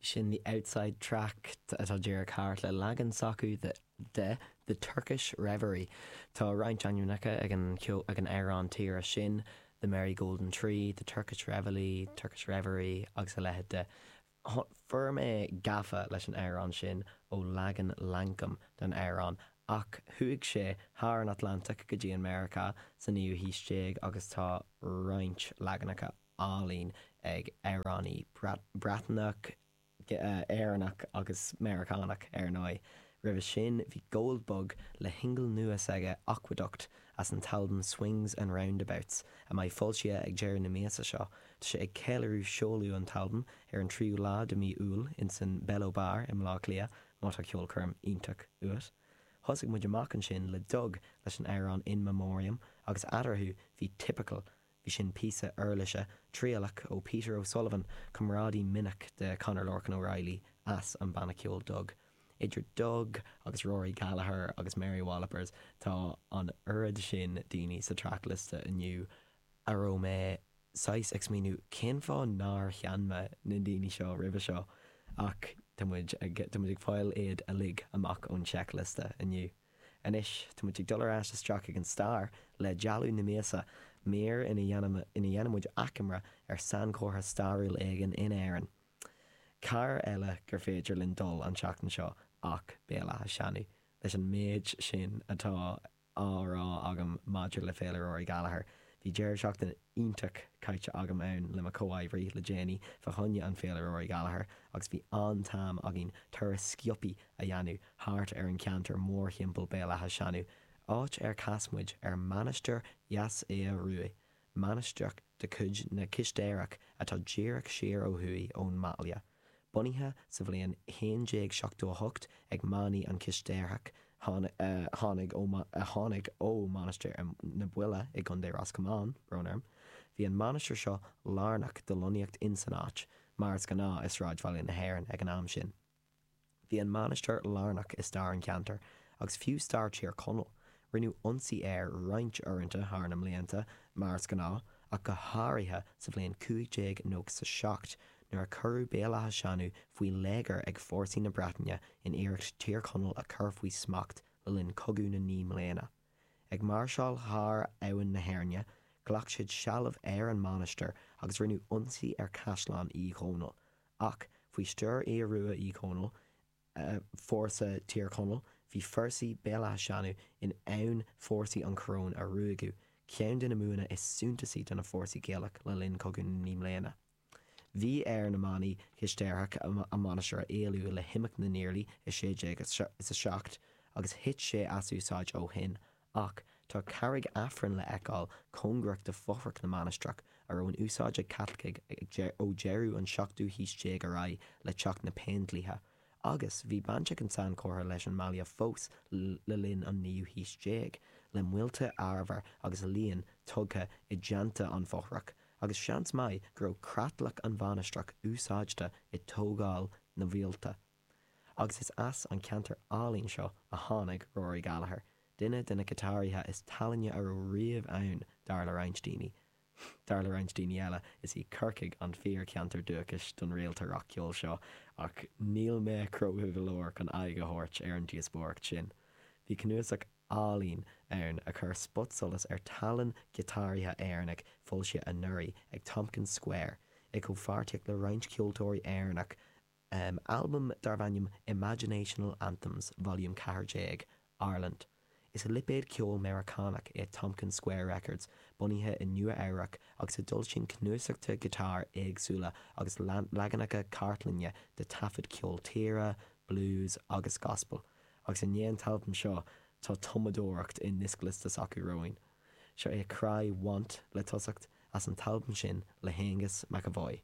Sin The Outside Track atá díreach thart le leagan s'acu de The Turkish Reverie. Tá roinnt ainmneacha ag an ag an amhrán tíre sin, The Merry Golden Tree, The Turkish Reveille, Turkish Reverie agus a leithéid de. Fuair mé gafa leis an amhrán sin ó leagan Lankum den amhrán ach chuaigh sé thar an Atlantach go dtí an Meiriceá sa naoú haois déag agus tá roinnt leaganacha álainn ag amhránaí Breatnach, Éireannach agus Meiriceánach, ar ndóigh. Roimhe sin, bhí Goldbug le shingil nua s'aige Aqueduct as an t-albam Swings and Roundabouts, a mbeidh foilsithe ag deireadh na míosa seo. Tá sé ag ceiliúradh seoladh an t-albam ar an tríú lá de mí Iúil insan Bello Bar i mBleá Cliath, má tá ceolchoirm iontach uait. Thosaigh muid amach ansin le Dug leis an amhrán In Memoriam agus eatarthu bhí Typical Bhí sin píosa uirlise trialach ó Peter O'Sullivan, comrádaí minic de Conor Lorcan O'Reilly as an banna ceoil Dug. Idir Dug agus Rory Gallagher agus Mary Wallopers tá an oiread sin daoine sa trackliosta inniu a raibh mé saghas ag smaoineamh cén fáth nár sheinn mé na daoine seo roimhe seo ach tá muid ag tá muid ag fáil iad uilig amach ón seicliosta inniu. Anois, tá muid ag dul ar ais isteach ag an stair le Dealbh na Míosa, mír ina dhéanann muid achoimre ar sainchomhartha stairiúil éigin in Éirinn. Cár eile gur féidir linn dul an tseachtain seo ach Béal Átha Seanaidh, leis an méid sin atá á rá agam maidir le Féile Rory Gallagher. Bhí deireadh seachtaine iontach caite agam ann le mo chomhoibrí le déanaí fá choinne an Féile Rory Gallagher agus bhí an-t-am againn turas sciobtha a dhéanamh thart ar an cheantar mórthimpeall Béal Átha Seanaidh, áit ar chas muid ar Mainistir Dheas Aodha Ruaidh, mainistreach de chuid na Cistéireach atá díreach siar ó thuaidh ón mbaile. Bunaithe sa bhliain 1178 ag manaigh an Chistéarthach tháinig ó a tháinig ó Mhainistir na Buile i gContae Ros Comáin, brón orm. Bhí an mainistir seo lárnach do lonnaíocht insan áit, mar is gnáth i sráidbhaile na hÉireann ag an am sin. Bhí an mainistir lárnach i stair an cheantair, agus fiú stair Tír Chonaill. Rinneadh ionsaí air roinnt uaireanta thar na mblianta, mar is gnáth, ach go háirithe sa bhliain 1597, nuair a cuireadh Béal Átha Seanaidh faoi léigear ag fórsaí na Breataine in iarracht Tír Chonaill a chur faoi smacht le linn Cogadh na Naoi mBliana. Ag máirseáil thar Abhainn na hÉirne, ghlac siad seilbh ar an mainistir agus rinneadh ionsaí ar Chaisleán Uí Dhónaill, Ach, faoi stiúir Aodh Rua Uí Chonaill, fórsa Tír Chonaill, bhí forsaí Béal Átha Seanaidh in ann fórsaí an choróin a ruaigeadh, ceann de na mbuanna is suntasaí do na fórsaí Gaelach le linn Cogadh na Naoi mBliana. Bhí ar na manaigh Chistéarthach a mainistir a éalú le himeacht na nIarlaí i 1607 agus thit sé as úsáid ó shin, Ach tá carraig Aifrinn le feiceáil cóngarach do fothrach na mainistreach, a raibh in úsáid ag Caitlicigh ó deireadh an seachtú haois déag ar aghaidh le teacht na Péindlíthe. Agus bhí baint ag an sainchomhartha leis an mbaile fós le linn an naoú haois déag, le muilte arbhair agus laíon tugtha i dteannta an fothrach, agus seans maith go raibh creatlach an mhainistreach úsáidte i dtógáil na muilte. Agus is as an cheantar álainn seo a tháinig Rory Gallagher, duine de na giotáraithe is tallainne a raibh riamh ann, dar le roinnt daoine. Dar le roinnt daoine eile, is í Corcaigh an fíor-cheantar dúchais don réalta rac-cheoil seo, ach níl mé cróga go leor chun aghaidh a thabhairt ar an díospóireacht sin. Bhí cnuasach álainn ann a chuir spotsolas ar tallann giotáraithe Éireannaigh foilsithe anuraidh ag Tompkins Square, i gcomhpháirtíocht le roinnt ceoltóirí Éireannach Albam darbh ainm Imaginational Anthems Volume 14, Ireland. Is lipéad ceoil Meiriceánach é Tompkins Square Records, bunaithe i Nua-Eabhrac agus a d'fhoilsíonn cnuasachta giotáir éagsúla agus leaganacha cartlainne de taifid ceol tíre, blues agus gospel. Agus i ndiaidh an t-albam seo, tá tumadóireacht i ndioscliosta s'acu romhainn. Seo é Cry Want le tosacht, as an t-albam sin le hAonghus McEvoy.